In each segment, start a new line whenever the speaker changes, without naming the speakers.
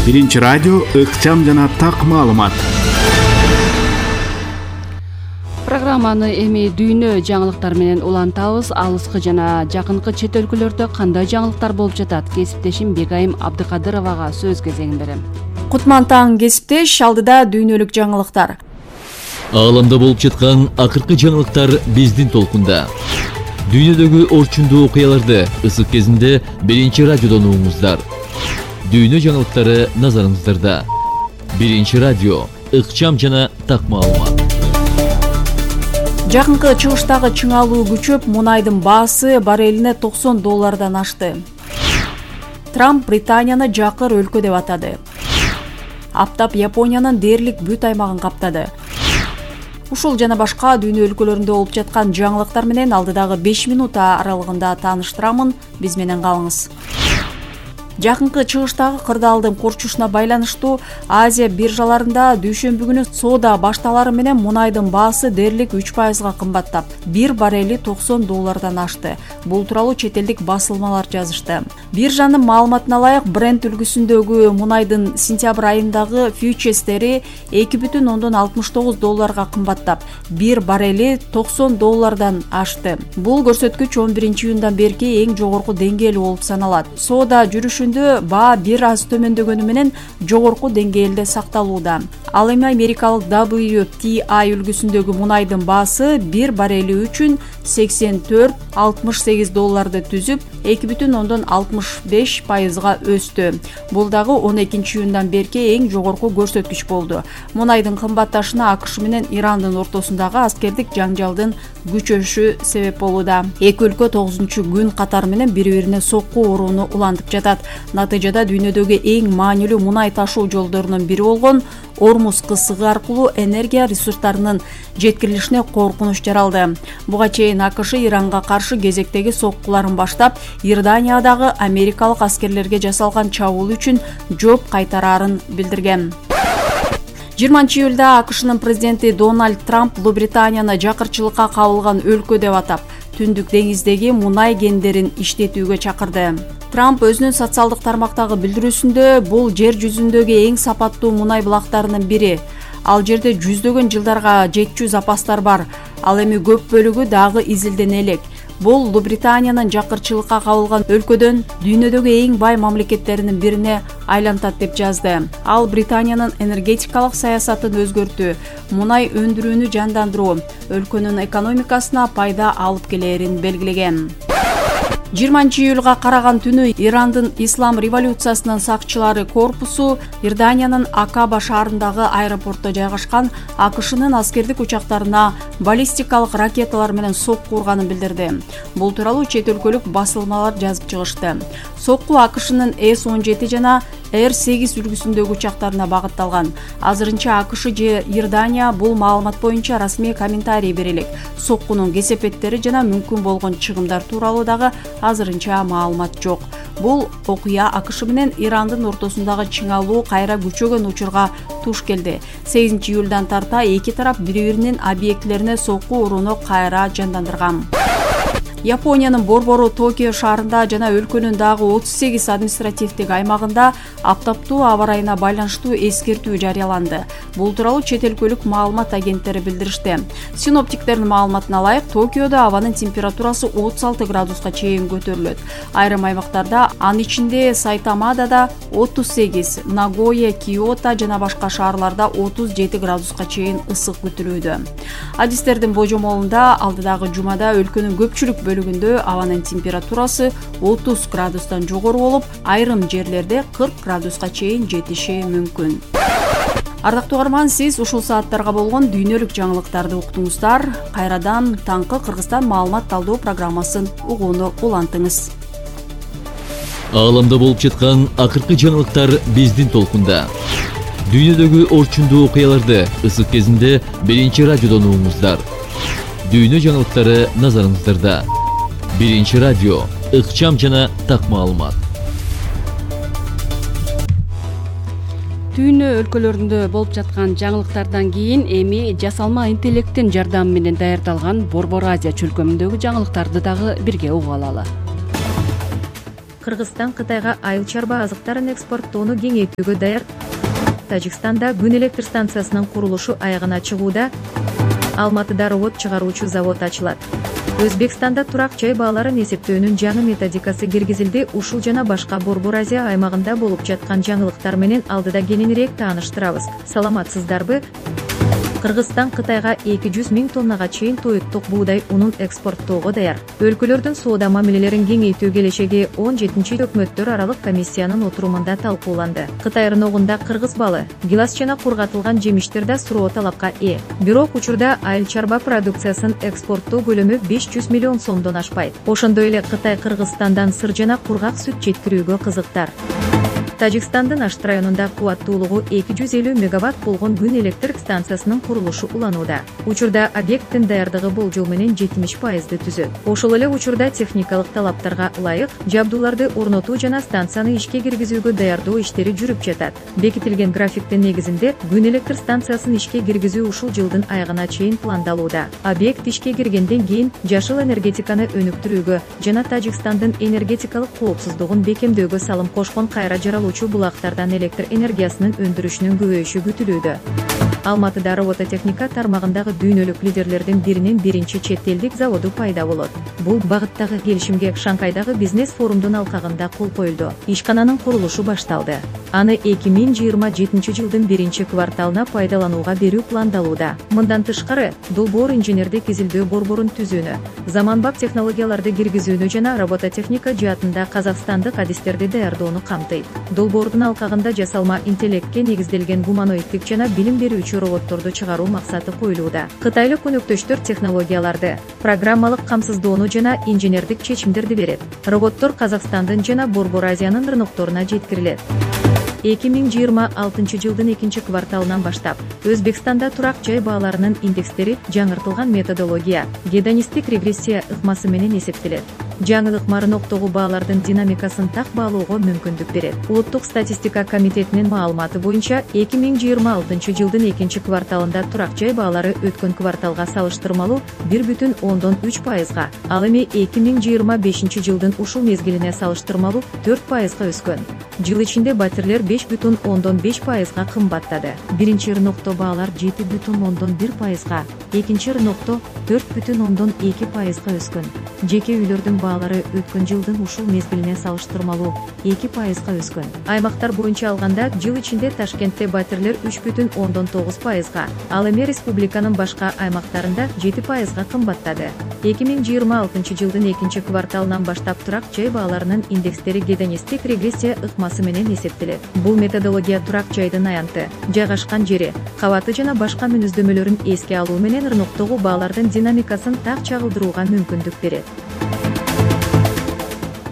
Биринчи радио ыкчам жана так маалымат.
Программаны эми дүйнө жаңылыктары менен улантабыз. Алыскы жана жакынкы чет өлкөлөрдө кандай жаңылыктар болуп жатат? Кесиптешим Бегайым Абдыкадыровага сөз кезегин берем.
Кутман таң кесиптеш, алдыда дүйнөлүк жаңылыктар.
Ааламда болуп жаткан акыркы жаңылыктар биздин толкунда. Дүйнөдөгү орчундуу окуяларды ысык кезинде биринчи радиодон угуңуздар. Дүйнө жаңылыктары назарыңыздарда. Биринчи радио ыкчам жана так маалымат.
Жакынкы чыгыштагы чыңалуу күчөп, мунайдын баасы баррелине $90 ашты. Трамп Британияны жакыр өлкө деп атады. Аптап Япониянын дээрлик бүт аймагын каптады. Ушул жана башка дүйнө өлкөлөрүндө болуп жаткан жаңылыктар менен алдыдагы 5 минут аралыгында тааныштырамын. Биз менен калыңыз. Жакынкы чыгыштагы кырдаалдын курчушуна байланыштуу Азия биржаларында дүйшөмбү күнү соода башталары менен мунайдын баасы дээрлик 3% кымбаттап, бир баррели $90 ашты. Бул тууралуу чет элдик басылмалар жазышты. Биржанын маалыматына ылайык, Brent үлгүсүндөгү мунайдын сентябрь айындагы фьючерстери $2,69 кымбаттап, бир баррели $90 ашты. Бул көрсөткүч 11-июндан берки эң жогорку деңгээл болуп саналат. Соода жүрүшүндө баа бир аз төмөндөгөнү менен жогорку деңгээлде сакталууда. Ал эми америкалык WTI үлгүсүндөгү мунайдын баасы бир баррели үчүн $84,68 түзүп, 2,65% өстү. Бул дагы 12-июндан берки эң жогорку көрсөткүч болду. Мунайдын кымбатташына АКШ менен Ирандын ортосундагы аскердик жаңжалдын күчөшү себеп болууда. Эки өлкө 9-күн катары менен бири-бирине сокку урууну улантып жатат. Натыйжада дүйнөдөгү эң маанилүү мунай ташуу жолдорунун бири болгон Ормуз кысыгы аркылуу энергия ресурстарынын жеткирилишине коркунуч жаралды. Буга чейин АКШ Иранга каршы кезектеги соккуларын баштап, Иорданиядагы америкалык аскерлерге жасалган чабуул үчүн жооп кайтараарын билдирген. 20-июлда АКШнын президенти Дональд Трамп Британияны жакырчылыкка кабылган өлкө деп атап, Түндүк деңиздеги мунай кендерин иштетүүгө чакырды. Трамп өзүнүн социалдык тармактагы билдирүүсүндө бул жер жүзүндөгү эң сапаттуу мунай булактарынын бири. Ал жерде жүздөгөн жылдарга жетчү запастар бар. Ал эми көп бөлүгү дагы изилдене элек. Бул Британиянын жакырчылыкка кабылган өлкөдөн дүйнөдөгү эң бай мамлекеттеринин бирине айлантат деп жазды. Ал Британиянын энергетикалык саясатын өзгөртүү, мунай өндүрүүнү жандандыруу, өлкөнүн экономикасына пайда алып келерин белгилеген. 20-июлга караган түнү Ирандын Ислам революциясынын сакчылары корпусу Иорданиянын Акаба шаарындагы аэропортто жайгашкан АКШнын аскердик учактарына баллистикалык ракеталар менен сокку урганын билдирди. Бул тууралуу чет өлкөлүк басылмалар жазып чыгышты. Сокку АКШнын С-17 жана Р-8 үлгүсүндөгү учактарына багытталган. Азырынча АКШ же Иордания бул маалымат боюнча расмий комментарий бере элек. Соккунун кесепеттери жана мүмкүн болгон чыгымдар тууралуу дагы азырынча маалымат жок. Бул окуя АКШ менен Ирандын ортосундагы чыңалуу кайра күчөгөн учурга туш келди. 8-июлдан тарта эки тарап бири-биринин объектилерине сокку урууну кайра жандандырган. Япониянын борбору Токио шаарында жана өлкөнүн дагы 38 административдик аймагында аптаптуу аба ырайына байланыштуу эскертүү жарыяланды. Бул тууралуу чет өлкөлүк маалымат агенттери билдиришти. Синоптиктердин маалыматына ылайык, Токиодо абанын температурасы 36 градуска чейин көтөрүлөт. Айрым аймактарда, анын ичинде Сайтамадада 38, Нагоя, Киото жана башка шаарларда 37 градуска чейин ысык күтүлүүдө. Адистердин божомолунда алдыдагы жумада өлкөнүн көпчүлүк бөлүгүндө абанын температурасы 30 градустан жогору болуп, айрым жерлерде 40 градуска чейин жетиши мүмкүн. Ардактуу угарман, сиз ушул сааттарга болгон дүйнөлүк жаңылыктарды уктуңуздар. Кайрадан таңкы Кыргызстан маалымат талдоо программасын угууну улантыңыз.
Ааламда болуп жаткан акыркы жаңылыктар биздин толкунда. Дүйнөдөгү орчундуу окуяларды ысык кезинде биринчи радиодон угуңуздар. Дүйнө жаңылыктары назарыңыздарда. Биринчи радио ыкчам жана так маалымат.
Дүйнө өлкөлөрүндө болуп жаткан жаңылыктардан кийин эми жасалма интеллекттин жардамы менен даярдалган Борбор Азия чөлкөмүндөгү жаңылыктарды дагы бирге угуп алалы.
Кыргызстан Кытайга айыл чарба азыктарын экспорттоону кеңейтүүгө даяр. Тажикстанда күн электр станциясынын курулушу аягына чыгууда. Алматыда робот чыгаруучу завод ачылат. Өзбекстанда турак жай бааларын эсептөөнүн жаңы методикасы киргизилди. Ушул жана башка Борбор Азия аймагында болуп жаткан жаңылыктар менен алдыда кененирээк тааныштырабыз. Саламатсыздарбы? Кыргызстан Кытайга 200 000 тоннага чейин тоюттук буудай унун экспорттоого даяр. Өлкөлөрдүн соода мамилелерин кеңейтүү келешеги 17-чи өкмөттөр аралык комиссиянын отурумунда талкууланды. Кытай рыногунда кыргыз балы, гилас жана кургатылган жемиштер да суроо талапка ээ. Бирок учурда айыл чарба продукциясын экспорттоо көлөмү 500 миллион сомдон ашпайт. Ошондой эле Кытай Кыргызстандан сыр жана кургак сүт жеткирүүгө кызыктар. Тажикстандын Ашт районунда кубаттуулугу 250 мегаватт болгон күн электр станциясынын курулушу уланууда. Учурда объекттин даярдыгы болжол менен 70%ды түзөт. Ошол эле учурда техникалык талаптарга ылайык жабдууларды орнотуу жана станцияны ишке киргизүүгө даярдоо иштери жүрүп жатат. Бекитилген графиктин негизинде күн электр станциясын ишке киргизүү ушул жылдын аягына чейин пландалууда. Объект ишке киргенден кийин жашыл энергетиканы өнүктүрүүгө жана Тажикстандын энергетикалык коопсуздугун бекемдөөгө салым кошкон кайра жаралуу булактардан электр энергиясынын өндүрүшүнүн көбөйүшү күтүлүүдө. Алматыда робототехника тармагындагы дүйнөлүк лидерлердин биринин биринчи чет элдик заводу пайда болот. Бул багыттагы келишимге Шанхайдагы бизнес форумдун алкагында кол коюлду. Ишкананын курулушу башталды. Аны 2027 жылдын биринчи кварталына пайдаланууга берүү пландалууда. Мындан тышкары, долбоор инженердик изилдөө борборун түзүүнү, заманбап технологияларды киргизүүнү жана робототехника жаатында казакстандык адистерди даярдоону камтыйт. Долбоордун алкагында жасалма интеллектке негизделген гуманоиддик жана билим берүүчү роботторду чыгаруу максаты коюлууда. Кытайлык өнөктөштөр технологияларды, программалык камсыздоону жана инженердик чечимдерди берет. Роботтор Казакстандын жана Борбор Азиянын рынокторуна жеткирилет. 2026 жылдын 2 кварталынан баштап Өзбекстанда турак жай бааларынын индекстери жаңыртылган методология, гедонисттик регрессия ыкмасы менен эсептелет. Жаңы ыкма рыноктогу баалардын динамикасын так баалоого мүмкүндүк берет. Улуттук статистика комитетинин маалыматы боюнча 2026 жылдын 2 кварталында турак жай баалары өткөн кварталга салыштырмалуу 1,3%, ал эми 2025 жылдын ушул мезгилине салыштырмалуу 4%га өскөн. Жыл ичинде батирлер 5,5%га кымбаттады. Биринчи рынокто баалар 7,1%га, экинчи рынокто 4,2%га өскөн. Жеке үйлөрдүн баалары өткөн жылдын ушул мезгилине салыштырмалуу 2%га өскөн. Аймактар боюнча алганда жыл ичинде Ташкентте батирлер 3,9%га, ал эми республиканын башка аймактарында 7%га кымбаттады. 2026 жылдын 2 кварталынан баштап турак жай бааларынын индекстери гедонисттик регрессия ыкмасы менен эсептелет. Бул методология турак жайдын аянты, жайгашкан жери, кабаты жана башка мүнөздөмөлөрүн эске алуу менен рыноктогу баалардын динамикасын так чагылдырууга мүмкүндүк берет.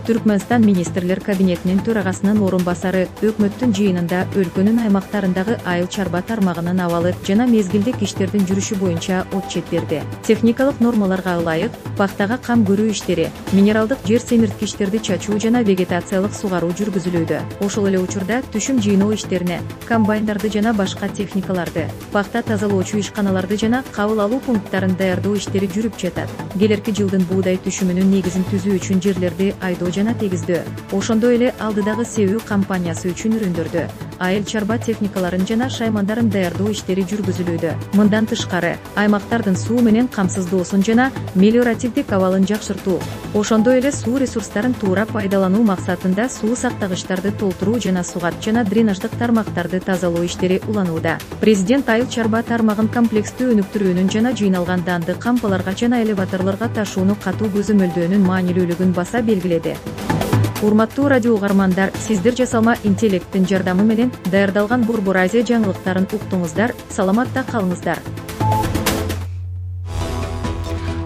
Түркмөнстан министрлер кабинетинин төрагасынын орун басары өкмөттүн жыйынында өлкөнүн аймактарындагы айыл чарба тармагынын абалы жана мезгилдик иштердин жүрүшү боюнча отчет берди. Техникалык нормаларга ылайык пахтага кам көрүү иштери, минералдык жер семирткичтерди чачуу жана вегетациялык сугаруу жүргүзүлүүдө. Ошол эле учурда түшүм жыйноо иштерине, комбайндарды жана башка техникаларды, пахта тазалоочу ишканаларды жана кабыл алуу пункттарын даярдоо иштери жүрүп жатат. Келерки жылдын буудай түшүмүнүн негизин түзүү үчүн жерлерди айдоо жана тегиздөө, ошондой эле алдыдагы себүү кампаниясы үчүн үрүндөрдү, айыл чарба техникаларын жана шаймандарын даярдоо иштери жүргүзүлүүдө. Мындан тышкары, аймактардын суу менен камсыздоосун жана мелиоративдик абалын жакшыртуу, ошондой эле суу ресурстарын туура пайдалануу максатында суу сактагычтарды толтуруу жана сугат жана дренаждык тармактарды тазалоо иштери уланууда. Президент айыл чарба тармагын комплекстүү өнүктүрүүнүн жана жыйналган данды кампаларга жана элеваторлорго ташууну катуу көзөмөлдөөнүн маанилүүлүгүн баса белгиледи. Урматтуу радио угармандар, сиздер жасалма интеллекттин жардамы менен даярдалган Борбор Азия жаңылыктарын уктуңуздар, саламатта калыңыздар.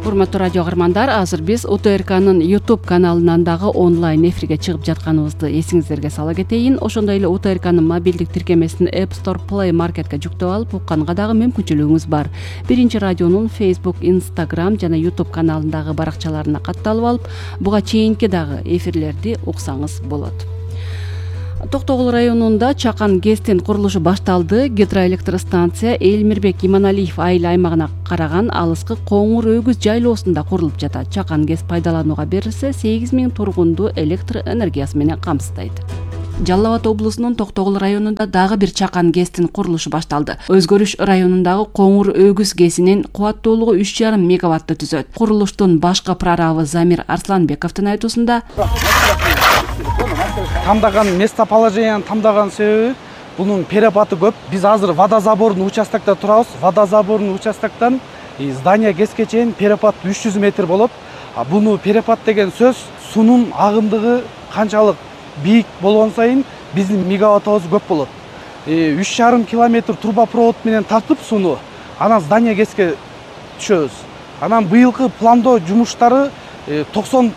Урматтуу радио угармандар, азыр биз УТРКнын YouTube каналынан дагы онлайн эфирге чыгып жатканыбызды эсиңиздерге сала кетейин. Ошондой эле УТРКнын мобилдик тиркемесин App Store, Play Market'ке жүктөп алып укканга дагы мүмкүнчүлүгүңүз бар. Биринчи радионун Facebook, Instagram жана YouTube каналындагы баракчаларына катталып алып, буга чейинки дагы эфирлерди уксаңыз болот. Токтогул районунда Чакан ГЭСтин курулушу башталды. Гидроэлектростанция Элмирбек Иманалиев айыл аймагына караган алыскы Коңур Өгүз жайлоосунда курулуп жатат. Чакан ГЭС пайдаланууга берилсе, 8000 тургунду электр энергиясы менен камсыздайт. Жалал Абад облусунун Токтогул районунда дагы бир Чакан ГЭСтин курулушу башталды. Өзгөрүш районундагы Коңур Өгүз ГЭСинин кубаттуулугу 3,5 мегаваттты түзөт. Курулуштун башкы прорабы Замир Арсланбековдун айтуусунда,
тамдаган местоположениянын тамдаган себеби бунун перепаты көп. Биз азыр водозабордун участокто турабыз. Водозабордун участоктон здание ГЭСке чейин перепат 300 метр болот. Буну перепат деген сөз суунун агымдыгы канчалык бийик болгон сайын биздин мегаваттыбыз көп болот. 3,5 километр трубопровод менен тартып сууну анан здание ГЭСке түшөбүз. Анан быйылкы пландоо жумуштары 90%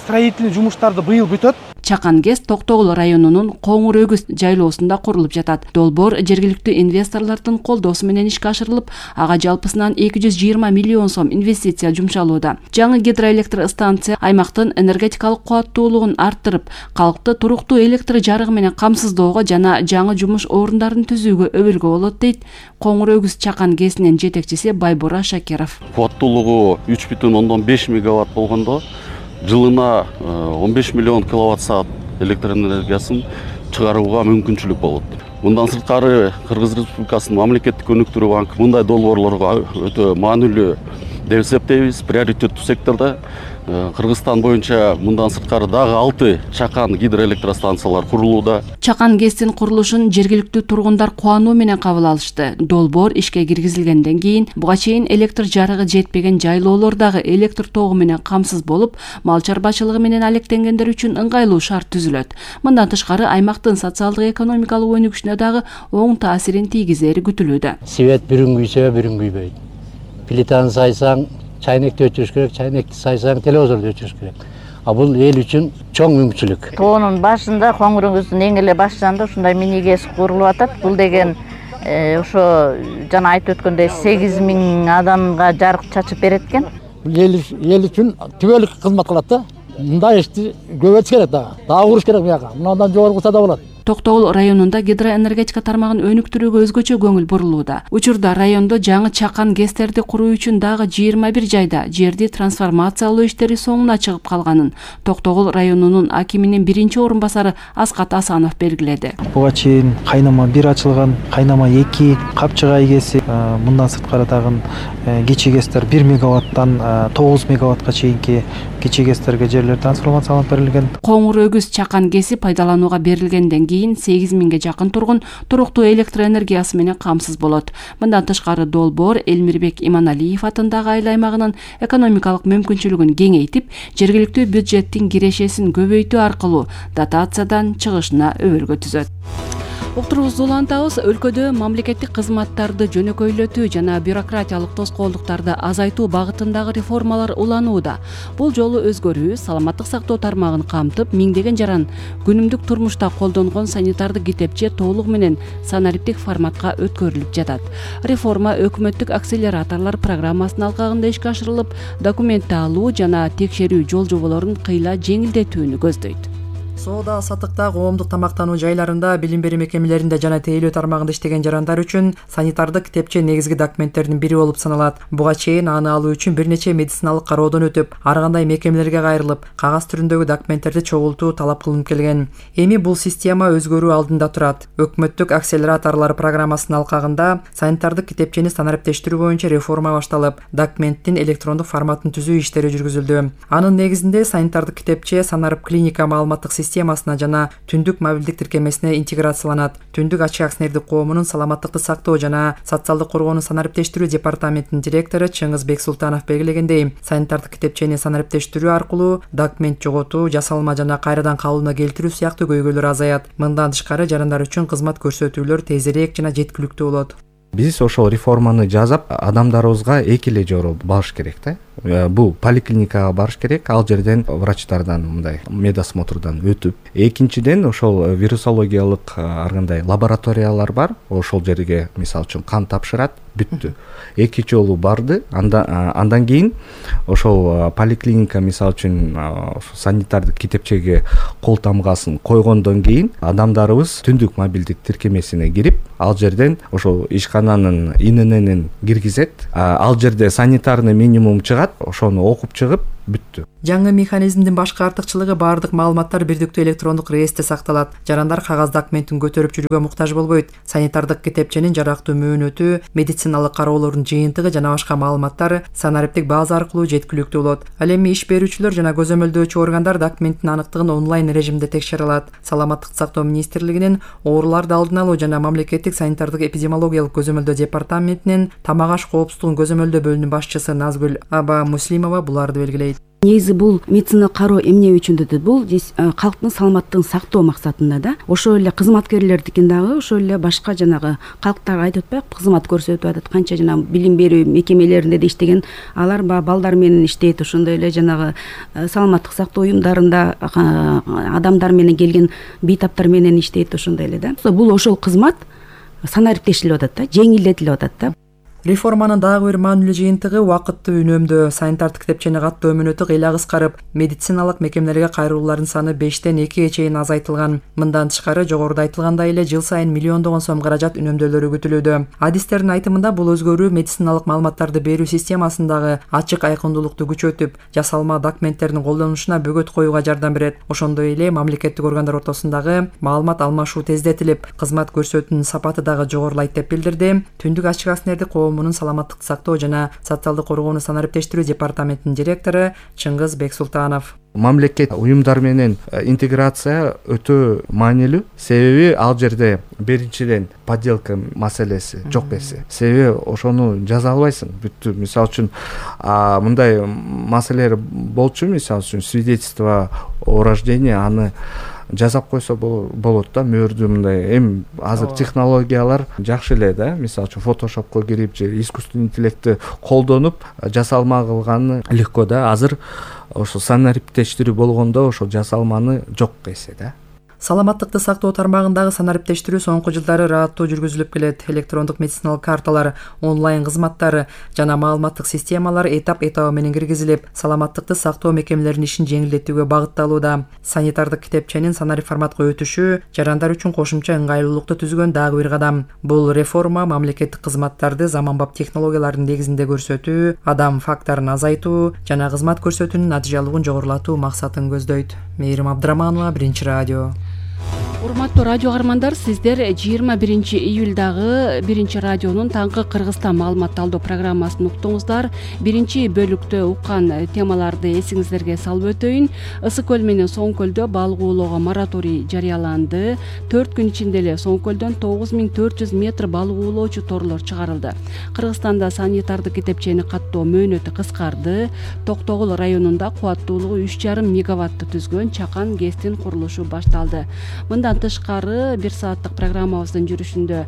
строительный жумуштарды быйыл бүтөт.
Чакан ГЭС Токтогул районунун Коңур Өгүз жайлоосунда курулуп жатат. Долбоор жергиликтүү инвесторлордун колдоосу менен ишке ашырылып, ага жалпысынан 220 миллион сом инвестиция жумшалууда. Жаңы гидроэлектростанция аймактын энергетикалык кубаттуулугун арттырып, калкты туруктуу электр жарыгы менен камсыздоого жана жаңы жумуш орундарын түзүүгө өбөлгө болот, дейт Коңур Өгүз Чакан ГЭСинин жетекчиси Байбура Шакиров.
Кубаттуулугу 3,5 мегаватт болгондо жылына 15 миллион киловатт саат электр энергиясын чыгарууга мүмкүнчүлүк болот. Мындан сырткары Кыргыз Республикасынын мамлекеттик өнүктүрүү банкы мындай долбоорлорго өтө маанилүү деп эсептейбиз. Приоритеттүү секторда Кыргызстан боюнча мындан сырткары дагы 6 Чакан гидроэлектростанциялар курулууда.
Чакан ГЭСтин курулушун жергиликтүү тургундар кубануу менен кабыл алышты. Долбоор ишке киргизилгенден кийин буга чейин электр жарыгы жетпеген жайлоолор дагы электр тогу менен камсыз болуп, мал чарбачылыгы менен алектенгендер үчүн ыңгайлуу шарт түзүлөт. Мындан тышкары аймактын социалдык экономикалык өнүгүшүнө дагы оң таасирин тийгизери күтүлүүдө.
Свет бирин күйсө бирин күйбөйт. Плитаны сайсаң чайнекти өчүрүш керек, чайнекти сайсаң телевизорду өчүрүш керек. Бул эл үчүн чоң мүмкүнчүлүк.
Тоонун башында Коңур Өгүздүн эң эле башында ушундай мини ГЭС курулуп атат. Бул деген ошо жана айтып өткөндөй 8000 адамга жарык чачып берет экен.
Эл үчүн түбөлүк кызмат кылат да. Мындай ишти көбөйтүш керек дагы. Дагы куруш керек буяка. Мындан жогору кылса да болот.
Токтогул районунда гидроэнергетика тармагын өнүктүрүүгө өзгөчө көңүл бурулууда. Учурда райондо жаңы Чакан ГЭСтерди куруу үчүн дагы 21 жайда жерди трансформациялоо иштери соңуна чыгып калганын Токтогул районунун акиминин биринчи орун-басары Аскат Асанов белгиледи.
Буга чейин кайнама 1 ачылган, кайнама 2, Капчыгай ГЭСи, мындан сырткары дагы кичи ГЭСтер 1 мегаваттан 9 мегаваттка чейинки кичи ГЭСтерге жерлер трансформацияланып берилген.
Коңур Өгүз Чакан ГЭСи пайдаланууга берилгенден кийин 8000ге жакын тургун туруктуу электр энергиясы менен камсыз болот. Мындан тышкары долбоор Элмирбек Иманалиев атындагы айыл аймагынын экономикалык мүмкүнчүлүгүн кеңейтип, жергиликтүү бюджеттин кирешесин көбөйтүү аркылуу дотациядан чыгышына өбөлгө түзөт. Уктуруубузду улантабыз. Өлкөдө мамлекеттик кызматтарды жөнөкөйлөтүү жана бюрократиялык тоскоолдуктарды азайтуу багытындагы реформалар уланууда. Бул жолу өзгөрүү саламаттык сактоо тармагын камтып, миңдеген жаран күнүмдүк турмушта колдонгон санитардык китепче толугу менен санариптик форматка өткөрүлүп жатат. Реформа өкмөттүк акселераторлор программасынын алкагында ишке ашырылып, документти алуу жана текшерүү жол жоболорун кыйла жеңилдетүүнү көздөйт.
Соода саттыкта, коомдук тамактануу жайларында, билим берүү мекемелеринде жана тейлөө тармагында иштеген жарандар үчүн санитардык китепче негизги документтердин бири болуп саналат. Буга чейин аны алуу үчүн бир нече медициналык кароодон өтүп, ар кандай мекемелерге кайрылып, кагаз түрүндөгү документтерди чогултуу талап кылынып келген. Эми бул система өзгөрүү алдында турат. Өкмөттүк акселераторлор программасынын алкагында санитардык китепчени санариптештирүү боюнча реформа башталып, документтин электрондук форматын түзүү иштери жүргүзүлдү. Анын негизинде санитардык китепче санарип клиника маалыматтык системасына жана түндүк мобилдик тиркемесине интеграцияланат. Түндүк ачык акционердик коомунун саламаттыкты сактоо жана социалдык коргоонун санариптештирүү департаментинин директору Чыңгыз Бексултанов белгилегендей, санитардык китепчени санариптештирүү аркылуу документ жоготуу, жасалма жана кайрадан кабылууна келтирүү сыяктуу көйгөйлөр азаят. Мындан тышкары жарандар үчүн кызмат көрсөтүүлөр тезирээк жана жеткиликтүү болот.
Биз ошол реформаны жасап, адамдарыбызга эки эле жолу барыш керек да. бул поликлиникага барыш керек, ал жерден врачтардан мындай медосмотрдан өтүп, экинчиден ошол вирусологиялык ар кандай лабораториялар бар, ошол жерге мисалы үчүн кан тапшырат, бүттү. 2 жолу барды, андан кийин ошол поликлиника мисалы үчүн санитардык китепчеге кол тамгасын койгондон кийин адамдарыбыз түндүк мобилдик тиркемесине кирип, ал жерден ошол ишкананын ИНН киргизет, ал жерде санитарный минимум чыгат, ошону окуп чыгып бүттү.
Жаңы механизмдин башкы артыкчылыгы баардык маалыматтар бирдиктүү электрондук реестре сакталат. Жарандар кагаз документин көтөрүп жүрүүгө муктаж болбойт. Санитардык китепченин жарактуу мөөнөтү, медициналык кароолордун жыйынтыгы жана башка маалыматтар санариптик база аркылуу жеткиликтүү болот. Ал эми иш берүүчүлөр жана көзөмөлдөөчү органдар документтин аныктыгын онлайн режимде текшере алат. Саламаттык сактоо министрлигинин ооруларды алдын алуу жана мамлекеттик санитардык эпидемиологиялык көзөмөлдөө департаментинин тамак аш коопсуздугун көзөмөлдөө бөлүмүнүн башчысы Назгүл Аба Муслимова буларды белгилейт.
Негизи бул медициналык кароо эмне үчүн дедит? Бул калктын саламаттыгын сактоо максатында да. Ошол эле кызматкерлердикин дагы ошол эле башка жанагы калктарга айтып атпайбы, кызмат көрсөтүп атат. Канча жана билим берүү мекемелеринде да иштеген, алар балдар менен иштейт, ошондой эле жанагы саламаттык сактоо уюмдарында адамдар менен келген бейтаптар менен иштейт, ошондой эле да. Бул ошол кызмат санариптешилип атат да, жеңилдетилип атат да.
Реформанын дагы бир маанилүү жыйынтыгы убакытты үнөмдөө. Санитардык китепчени каттоо мөөнөтү кыйла кыскарып, медициналык мекемелерге кайрылуулардын саны 5-тен 2-ге чейин азайтылган. Мындан тышкары, жогоруда айтылгандай эле жыл сайын миллиондогон сом каражат үнөмдөлөрү күтүлүүдө. Адистердин айтымында бул өзгөрүү медициналык маалыматтарды берүү системасындагы ачык айкындуулукту күчөтүп, жасалма документтердин колдонулушуна бөгөт коюуга жардам берет. Ошондой эле мамлекеттик органдар ортосундагы маалымат алмашуу тездетилип, кызмат көрсөтүүнүн сапаты дагы жогорулайт деп билдирди Түндүк ачык аснердик коомунун саламаттык сактоо жана социалдык коргоону санариптештирүү департаментинин директору Чыңгыз Бексултанов.
Мамлекет уюмдар менен интеграция өтө маанилүү, себеби ал жерде биринчиден подделка маселеси жок эсе. Себеби ошону жаза албайсың, бүттү. Мисалы үчүн мындай маселелер болчу, мисалы үчүн свидетельство о рождении, аны жасап койсо болот да, мөөрдү мындай. Эми азыр технологиялар жакшы эле да, мисалы үчүн фотошопко кирип же искусственный интеллектти колдонуп жасалма кылганы легко да. Азыр ошо санариптештирүү болгондо ошо жасалманы жок эсе да.
Саламаттыкты сактоо тармагындагы санариптештирүү соңку жылдары ырааттуу жүргүзүлүп келет. Электрондук медициналык карталар, онлайн кызматтары жана маалыматтык системалар этап-этабы менен киргизилип, саламаттыкты сактоо мекемелеринин ишин жеңилдетүүгө багытталууда. Санитардык китепченин санарип форматка өтүшү жарандар үчүн кошумча ыңгайлуулукту түзгөн дагы бир кадам. Бул реформа мамлекеттик кызматтарды заманбап технологиялардын негизинде көрсөтүү, адам факторун азайтуу жана кызмат көрсөтүүнүн натыйжалуулугун жогорулатуу максатын көздөйт. Мээрим Абдыраманова, Биринчи радио.
Урматтуу радио каармандар, сиздер 21 июлдагы Биринчи радионун таңкы Кыргызстан маалымат алуу программасын уктуңуздар. Биринчи бөлүктө уккан темаларды эсиңиздерге салып өтөйүн. Ысык көл менен Соң көлдө балык оолоого мораторий жарыяланды. 4 күн ичинде эле Соң көлдөн 9400 метр балык оолоочу торлор чыгарылды. Кыргызстанда санитардык китепчени каттоо мөөнөтү кыскарды. Токтогул районунда кубаттуулугу 3,5 мегаватты түзгөн Чакан ГЭСтин курулушу башталды. Мындан тышкары 1 сааттык программабыздын жүрүшүндө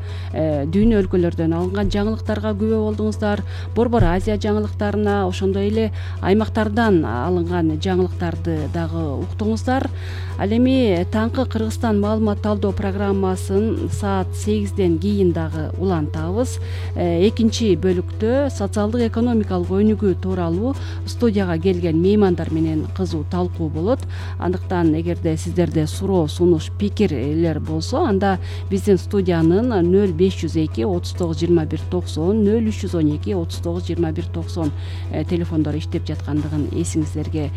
дүйнө өлкөлөрдөн алынган жаңылыктарга күбө болдуңуздар. Борбор Азия жаңылыктарына, ошондой эле аймактардан алынган жаңылыктарды дагы уктуңуздар. Ал эми таңкы Кыргызстан маалымат алуу программасын саат 8ден кийин дагы улантабыз. Экинчи бөлүктө социалдык экономикалык өнүгүү тууралуу студияга келген меймандар менен кызуу талкуу болот. Андыктан эгерде сиздерде суроо, сунуш, пикирлер болсо, анда биздин студиянын 0502 39 21 90, 0312 39 21 90 телефондору иштеп жаткандыгын эсиңиздерге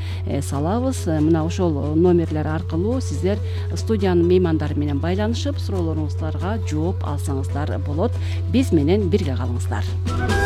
салабыз. Мына ошол номерлер аркылуу сиздер студиянын меймандары менен байланышып, суроолоруңуздарга жооп алсаңыздар болот. Биз менен бирге калыңыздар.